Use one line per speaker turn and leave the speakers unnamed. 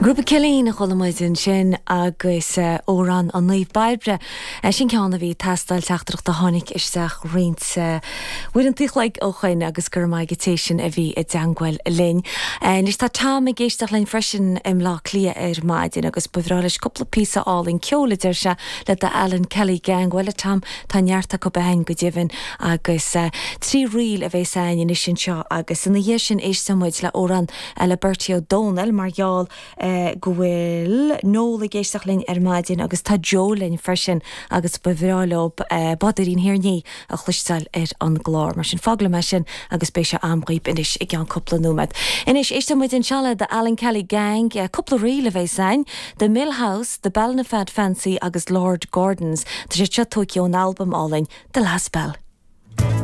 Grúpa Cillín a chuala muid ansin agus amhrán an Naomh Bairbre. Sin ceann a bhí ag teastáil, teachtaireacht a tháinig isteach roinnt uaireanta an chloig ó shoin agus go raibh maith ag an té sin a bhí i dteangmháil linn. Anois tá Tom ag éisteacht linn freisin i mBleá Cliath ar maidin agus ba bhreá leis cúpla píosa álainn ceoil a deir sé le The Alan Kelly Gang. Bhuel a Tom, tá neart acu againn go deimhin agus 3 ríl a bhéas againn anois anseo agus ina dhiaidh sin éistfidh muid le amhrán le Bertie Ó Dónaill mar gheall go bhfuil Noel ag éisteacht linn ar maidin agus tá Joe linn freisin agus ba bhreá leo Bádóirín Thír an Fhia a chloisteáil ar an gclár. Mar sin fág liom é sin agus beidh sé a'm dhaoib anois i gceann cúpla nóiméad. Anois éistfidh muid anseo le The Alan Kelly Gang, cúpla ríl a bheas a'inn, The Mill House, The Ballinafad Fancy agus Lord Gordon's. Tá sé seo tógtha ón albam álainn The Last Bell.